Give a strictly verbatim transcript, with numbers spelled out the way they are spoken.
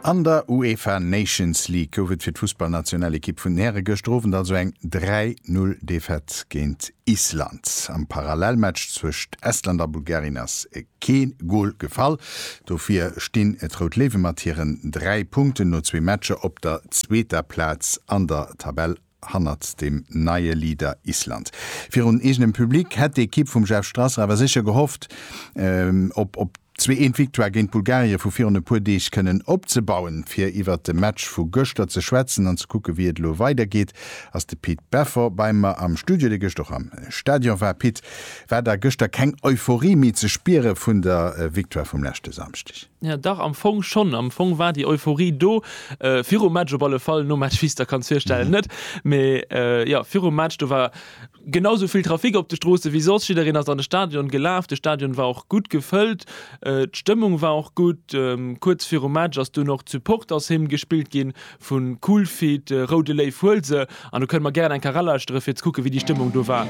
An der UEFA Nations League gouf et fir d'Fussballnationalekipp vun den Häre gëschter Owend also eng dräi Null Defaite géint Island. Am Parallelmatch zwëscht Estland a Bulgarien ass kee Gol gefall. Dofir stinn d'Rout Léiwe mat hiren dräi Punkten no zwee Matcher op der zweeter Plaz an der Tabell hannert dem neie Leader Island. Virun eegenem Public hätt d'Ekipp vum Jeff Strasser awer sécher gehofft, op op d'zwee eent Victoire géint Bulgarie vu virun e puer Deeg kënnen opzebauen. Fir iwwert de Match vu gëschter ze schwätzen an ze kucke wéi et elo weidergeet, ass de Pit Beffort bei mer am Studio, dee gëscht och am Stadion war. Pit, war da gëschter keng Euphorie méi ze spiere vun der Victoire vum leschte Samschdeg? Ja dach, am Fong schonn. Am Fong war déi Euphorie do, virum Match op alle Fall, nom Match, wéi s de der kanns virstellen, net. Mee jo, virum Match, do war genau sou vill Trafic op de Stroosse wéi soss. Jiddereen ass an de Stadion gelaf. De Stadion war och gutt gefëllt. D'Stëmmung war och gutt. Kuerz virum Match ass dunn och d'Supportershymn gespillt ginn vu Cool Feet, Roude Léiw huel se. An do kënne mer gären eng Kéier eralauschteren, fir ze kucken, wéi déi Stëmmung do war.